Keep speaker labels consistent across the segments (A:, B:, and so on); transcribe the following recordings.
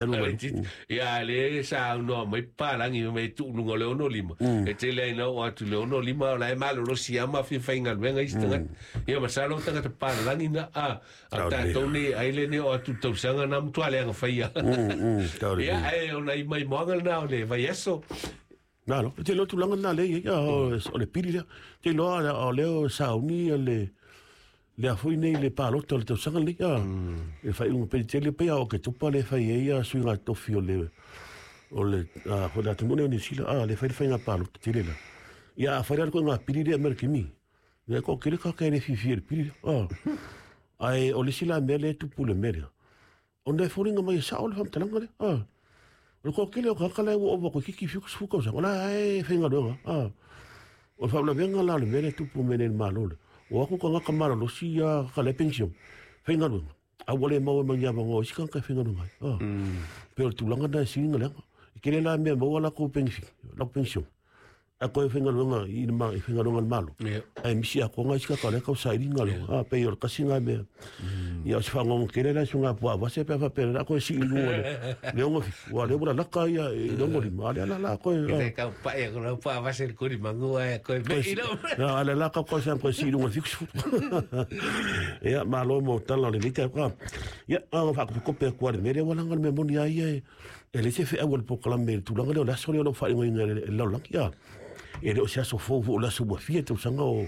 A: Ia le saunoa mai papalagi mai tuu luga o le 65 e tele ai na oo atu le 65 o la e malolosi lava ma fia faigaluega isi tagata. Ia masalo o tagata papalagi na a o tatou nei ai le nei oo atu i le tausaga na matua leaga faia. Ia ae o nai maimoaga lena o le vaiaso.
B: Malo, e te iloa tulaga lena lea e i ai, o le pili lea. Te iloa o lea o sauni le lea foi nei le palota o le tausaga lenei, a. E faaiuga pei tele pei a o Oketopa lea e fai ai a suiga tofi o le o le a foi le atunuu lenei o Niu Sila, a lea e fai le faiga palota tele la. Ia a fai la le ituaiga pili lea e aumai e le Kimi, ia e toatele tagata e le fiafia i le pili lea, a. Ae o le isi la mea lea e tupu i le mea lea, Ona e foliga mai e sao le faamatalaga lea. Ah. O le toatele o tagata la ua ova toeitiiti 70 tausaga, o la e faigaluega. Ah. O le faauilavega la o le mea lea e tupu mai nei i le Malo lea, o atu tagata malolosi ia ka lea penisione, faigaluega, a ua le maua ma ni avanoa o isi tagata e faigaluega ai. Ah. Pei o le tulaga lena e sili ona leaga. E tele la mea e maua latou penefiti, latou penisione. A toe faigaluega i le i faigaluega a le Malo. Ae misi atoa nai isi tagata o lea e tau sailiga le a pei o le tasi lena mea. Ia o se faanoano tele la i suiga puaa vase pe a faapea o le a toe sii i luga o le 67 aua o lea ua lalata ia i le 65 a o lea la o le a toe.
A: E tau pai aku lau puaa vase i le kuli magu ae koe mei lau.
B: A o lea la tau tau toe sii i luga i le 70. Ia malo mo tala o lenei taeao. Ia na ona faakopikope atu lava i le mea lea aua leaga o le mea moni lava ia e leai se feau a le polokalame i le tulaga lea o le aso lea o lo o faaigoaina e le lalolagi. A, e le o se aso fou foi o le aso ua fia tausaga o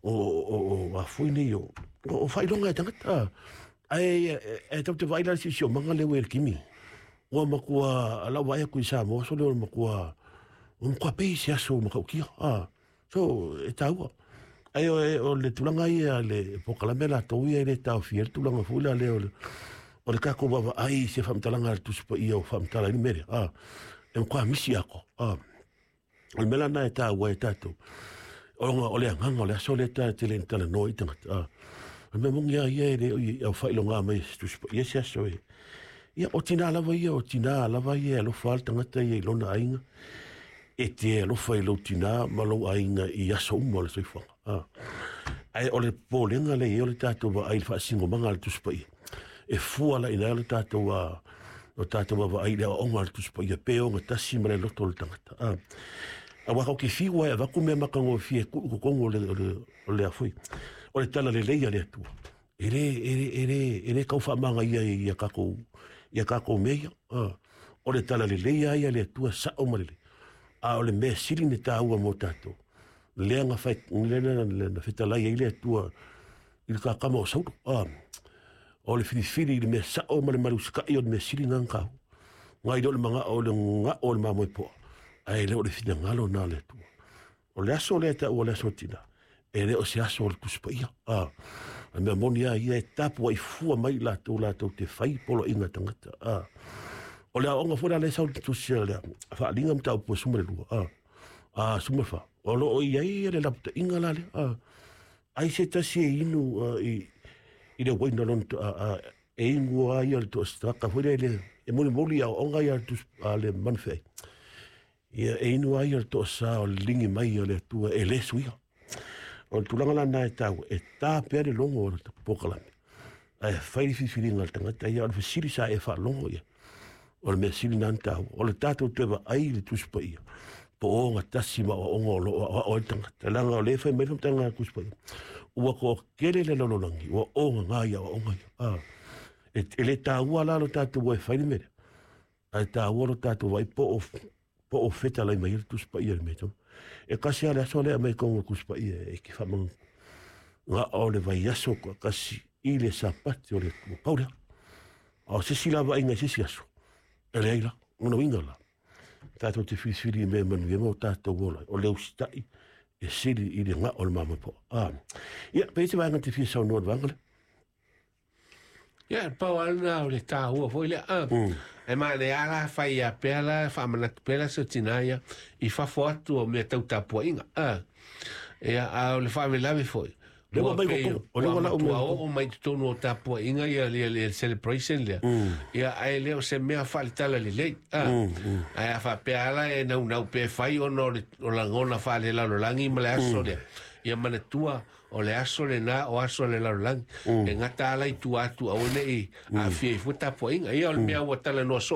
B: o o o a foi nei o o faailoga e tagata. Ae e tatou te vaai la i le siosiomaga lea ua i le Kimi. Ua matua lau vaai atu i Samoa aso lea ua matua pei se aso matautia. A, So, e taua. Ae o le tulaga ia le polokalame latou ia e le taofia ai le tulaga foi la lea o le o le tatou vaavaai i se faamatalaga a le Tusi Paia o faamatala ai le mea lea. A, e matua misi atoa. A, o le mea la lena e taua ai e tatou, ona o le agaga o le aso lea e tele ina talanoa ai tagata. A, o le mea moni lava ia e le o i au faailoga mai e se Tusi Paia se aso e. Ia, o tina lava ia, o tina lava ia e alofa lava le tagata ia i lona aiga. E te alofa i lou tinā ma lou aiga i aso uma o le soifuaga. A. Ae o le popolega lea e i ai o le tatou vaai i le faasinomaga a le Tusi Paia. E fua la ina le tatou a o tatou vaavaai i le aoaoga a le Tusi Paia pe ogatasi ma le loto o le tagata. A. Aua tatou te fiu lava e avatu mea matagofie e tuu i totonu o le, o le, o le a foi, o le talalelei a le Atua. E le, e le, e le, e le tau faamagaia i a tatou, i a tatou mea ia. O le talalelei lava ia a le Atua sao ma lelei. A o le mea sili ona taua mo tatou, lea na fai, lea na fetalai ai le Atua i le kakama o Saulo. O le filifili i le mea sao ma le malusikai o le mea sili lena ona taua. Nai lo le manao o le gao o le mamoe poa, ae le o le finagalo lena o le Atua. O le aso lea e taua o le aso tina, e le o se aso o le Tusi Paia. A, o le mea moni lava ia e tapuai fua mai i latou latou te fai poloaiga a tagata. A, o le aoaoga foi la lea e sau i le tusi a le Faaaliga Mataupu e 12, a, a 14, o lo o i ai le lapataiga la lea. A, ai se tasi e inu a, i le uaina lona a, e inu lava ia le toa foi lea e molimoli i aoaoga ia a le tusi a le manufeai. Ia, e inu ai le toasa o le ligi mai o le Atua e le suia. O le tulaga la lena e taua, e ta pea le logo o le polokalame, ae fai le filifiliga a le tagata ia, o le fesili sa e faalogo ia. O le mea sili lena ona taua, o le tatou toe vaai i le Tusi Paia, po o ogatasi ma aoaoga o lo o aoao ai le tagata. Leaga o lea e fai mai le faamatalaga a le Tusi Paia, ua toatele le lalolagi ua ogaga i aoaoga ia. A, e le taua la lo tatou o e fai le mea lea, Ae taua lo tatou vaai po o po o fetalai mai ai le Tusi Paia i le mea tonu. E tasi lava le aso lea e aumai i totonu o le Tusi Paia e te faamanu na o le vaiaso toatasi i le Sapati o le Atua. Pau lea. A o se isi la vaaiga i se isi aso, e leai la. Lona uiga la, tatou te filifili i mea e manuia ma o tatou ola ai. O le usitai e sili i le gao o le mamoe poa. Ah. Ia, pe i ai se vaega e te fia saunoa i le vaega lea?
A: Ia, pau lava lena o le taua foi lea. Ah, E manaia lava la fai ia pea la faamanatu pea la se tina ia i fafo atu o mea tau tapuaiga. Ah. Ia, a o le faalavelave foi.
B: Lea ua mai totonu. O lea ua lau mai
A: matua oo mai totonu o tapuaiga ia ia le celebration lea. Ia, ae le o se mea faaletala lelei. Ah. Ae a faapea lava la e naunau pea e fai ona o le o lagona faalelalolagi ma le aso lea. Ia manatua. O le aso lena o aso le lalolagi e gata ala i tua atu aua neʻi aafia ai fua tapuaʻiga. Ia o le mea ua talanoa soo.